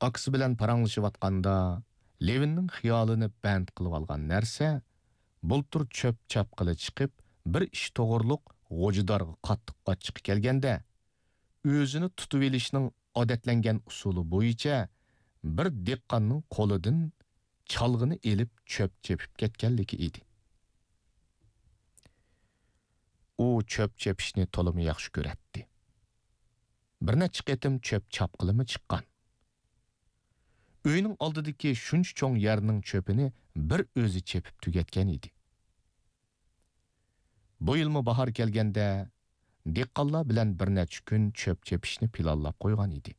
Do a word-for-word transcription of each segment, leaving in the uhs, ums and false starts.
ئاكىسى بىلەن پاراڭلىشىۋاتقاندا، لېۋىننىڭ خىيالىنى بەند قىلىۋالغان نەرسە، بۇلتۇر چۆپ چاپقىلى چىقىپ، بىر ئىش توغرۇلۇق غوجىدارغا قاتتىق ئاچچىقى كەلگەندە، ئۆزىنى تۇتۇۋېلىشنىڭ ئادەتلەنگەن ئۇسۇلى بويىچە بىر دېھقاننىڭ قولىدىن چالغىنى ئېلىپ چۆپ چېپىپ كەتكەنلىكى ئىدى. ئۇ چۆپ چېپىشنى تولىمۇ ياخشى كۆرەتتى. بىر نەچچە قېتىم چۆپ چاپقىلىمۇ چىققان. ئۆينىڭ ئالدىدىكى شۇنچە چوڭ يەرنىڭ چۆپىنى بىر ئۆزى چېپىپ تۈگەتكەن ئىدى. بۇ يىلمۇ باھار كەلگەندە، دېھقانلار بىلەن بىر نەچچە كۈن چۆپ چېپىشنى پىلانلاپ قويغان ئىدى.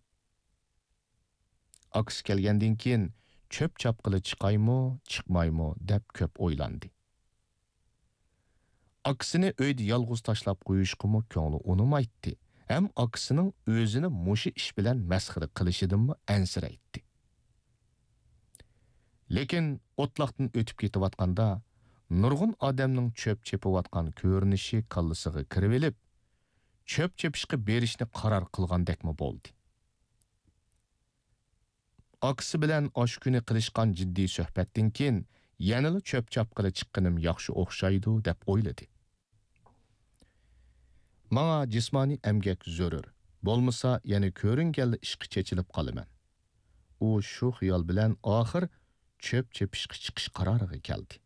ئاكىسى كەلگەندىن كېيىن، چۆپ چاپقىلى چىقايمۇ، چىقمايمۇ دەپ كۆپ ئويلاندى. ئاكىسىنى ئۆيدە يالغۇز تاشلاپ قويۇشقىمۇ كۆڭلى ئۇنىمايتتى، ھەم ئاكىسىنىڭ ئۆزىنى مۇشۇ ئىش بىلەن مەسخىرە قىلىشىدىنمۇ ئەنسىرەيتتى. لېكىن ئوتلاقتىن ئۆتۈپ كېتىۋاتقاندا، نۇرغۇن ئادەمنىڭ چۆپ چېپىۋاتقان كۆرۈنۈشى كاللىسىغا كىرىۋېلىپ، چۆپ چېپىشقا بېرىشنى قارار قىلغاندەكمۇ بولدى. ئاكىسى بىلەن ئاشۇ كۈنى قىلىشقان جىددىي سۆھبەتتىن كېيىن، يەنىلا چۆپ چاپقىلى چىققىنىم ياخشى ئوخشايدۇ، دەپ ئويلىدى. ماڭا جىسمانىي ئەمگەك زۆرۈر، بولمىسا يەنە كۆرۈنگەنلا ئىشقا چېچىلىپ قالىمەن. ئۇ شۇ خىيال بىلەن ئاخىر چۆپ چېپىشقا چىقىش قارارىغا كەلدى.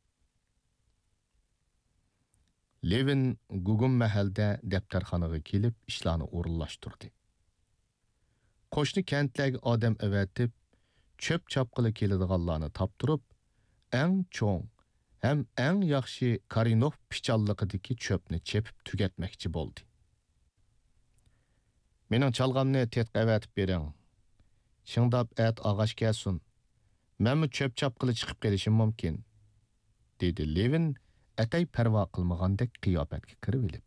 لېۋىن گۇگۇم مەھەلدە دەپتەرخانىغا كېلىپ ئىشلارنى ئورۇنلاشتۇردى. قوشنا كەنتلەرگە ئادەم ئەۋەتىپ، چۆپ چاپقىلى كېلىدىغانلارنى تاپتۇرۇپ، ئەڭ چوڭ ھەم ئەڭ ياخشى كارىنوف پىچانلىقىدىكى چۆپنى چېپىپ تۈگەتمەكچى بولدى. مېنىڭ چالغامنى تېتىققا ئەۋەتىپ بېرىڭ. شىڭداپ ئەتە ئاغاش كەلسۇن. مەنمۇ چۆپ چاپقىلى چىقىپ قېلىشىم مۇمكىن، دېدى لېۋىن ئەتەي پەرۋا قىلمىغاندەك قىياپەتكە كىرىۋېلىپ.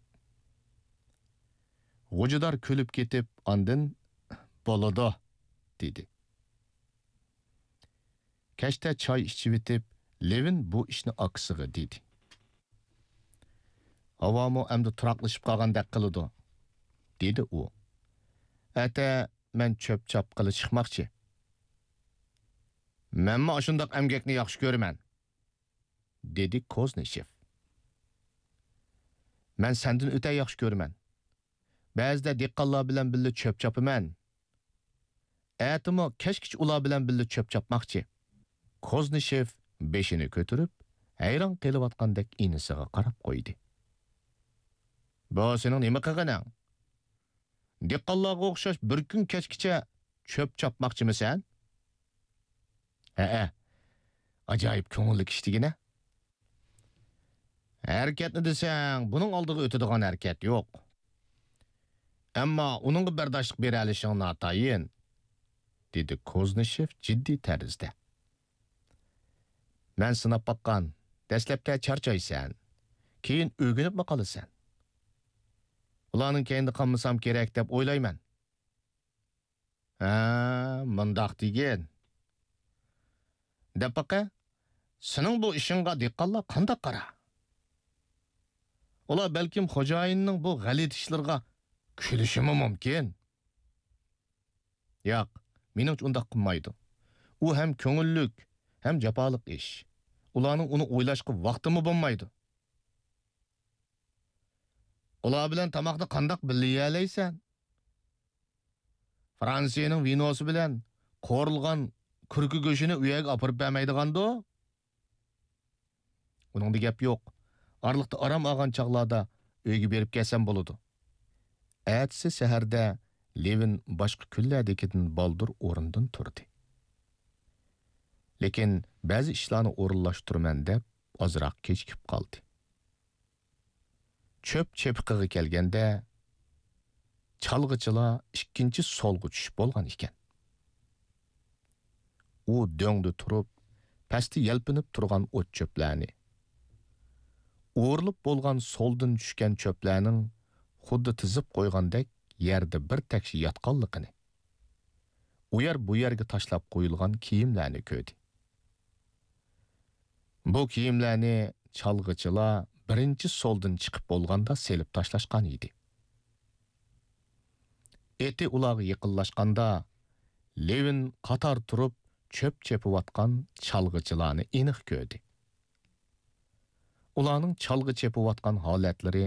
غوجىدار كۈلۈپ كېتىپ، ئاندىن، بولىدۇ، دېدى. كەچتە چاي ئىچىۋېتىپ، لېۋىن بۇ ئىشنى ئاكىسىغا دېدى. ھاۋامۇ ئەمدى تۇراقلىشىپ قالغاندەك قىلىدۇ، دېدى ئۇ. ئەتە مەن چۆپ چاپقىلى چىقماقچى. مەنمۇ ئاشۇنداق ئەمگەكنى ياخشى كۆرىمەن، دېدى كوزنىشېف. مەن سەندىن ئۆتە ياخشى كۆرىمەن. بەزىدە دېھقانلار بىلەن بىللە چۆپ چاپىمەن. ئەتىمۇ كەچكىچە ئۇلار بىلەن بىللە چۆپ چاپماقچى. كوزنىشېف بېشىنى كۆتۈرۈپ، ھەيران قېلىۋاتقاندەك ئىنىسىغا قاراپ قويدى. بۇ سېنىڭ نېمە قىلغىنىڭ؟ دېھقانلارغا ئوخشاش بىر كۈن كەچكىچە چۆپ چاپماقچىمۇ سەن؟ ھەئە، ئاجايىپ كۆڭۈللۈك ئىش دېگىنە. ھەرىكەتنى دېسەڭ، بۇنىڭ ئالدىغا ئۆتىدىغان ھەرىكەت يوق. ئەمما ئۇنىڭغا بەرداشلىق بېرەلىشىڭ ناتايىن، دېدى كوزنىشېف جىددىي تەرزدە. مەن سىناپ باققان، دەسلەپتە چارچايسەن، كېيىن ئۆگىنىپمۇ قالىسەن. ئۇلارنىڭ كەينىدە قالمىسام كېرەك دەپ ئويلايمەن. ھە، مۇنداق دېگىن. دەپ باقە، سېنىڭ بۇ ئىشىڭغا دېھقانلار قانداق قارا؟ ئۇلار بەلكىم خوجايىننىڭ بۇ غەلىتە ئىشلىرىغا كۈلۈشىمۇ مۇمكىن. ياق، مېنىڭچە ئۇنداق قىلمايدۇ. ئۇ ھەم كۆڭۈللۈك، ھەم جاپالىق ئىش. ئۇلارنىڭ ئۇنى ئويلاشقا ۋاقتىمۇ بولمايدۇ. ئۇلار بىلەن تاماقنى قانداق بىللە يېيەلەيسەن؟ فرانسىيەنىڭ ۋىنوسى بىلەن قورۇلغان كۈركە گۆشىنى ئۇ يەرگە ئاپىرىپ بەرمەيدىغاندۇ؟ ئۇنىڭدا گەپ يوق. ئارىلىقتا ئارام ئالغان چاغلاردا ئۆيگە بېرىپ كەلسەم بولىدۇ. ئەتىسى سەھەردە لېۋىن باشقا كۈنلەردىكىدىن بالدۇر ئورنىدىن تۇردى. لېكىن بەزى ئىشلارنى ئورۇنلاشتۇرىمەن دەپ ئازراق كېچىكىپ قالدى. چۆپ چېپىقىغا كەلگەندە، چالغىچىلار ئىككىنچى سولغا چۈشۈپ بولغان ئىكەن. ئۇ دۆڭدە تۇرۇپ، پەستە يەلپۈنۈپ تۇرغان ئوت-چۆپلەرنى، ئورۇلۇپ بولغان سولدىن چۈشكەن چۆپلەرنىڭ خۇددى تىزىپ قويغاندەك يەردە بىر تەكشى ياتقانلىقىنى، ئۇ يەر بۇ يەرگە تاشلاپ قويۇلغان كىيىملەرنى كۆردى. بۇ كىيىملەرنى چالغىچىلار بىرىنچى سولدىن چىقىپ بولغاندا سېلىپ تاشلاشقان ئىدى. ئېتى ئۇلارغا يېقىنلاشقاندا، لېۋىن قاتار تۇرۇپ چۆپ چېپىۋاتقان چالغىچىلارنى ئېنىق كۆردى. ئۇلارنىڭ چالغا چېپىۋاتقان ھالەتلىرى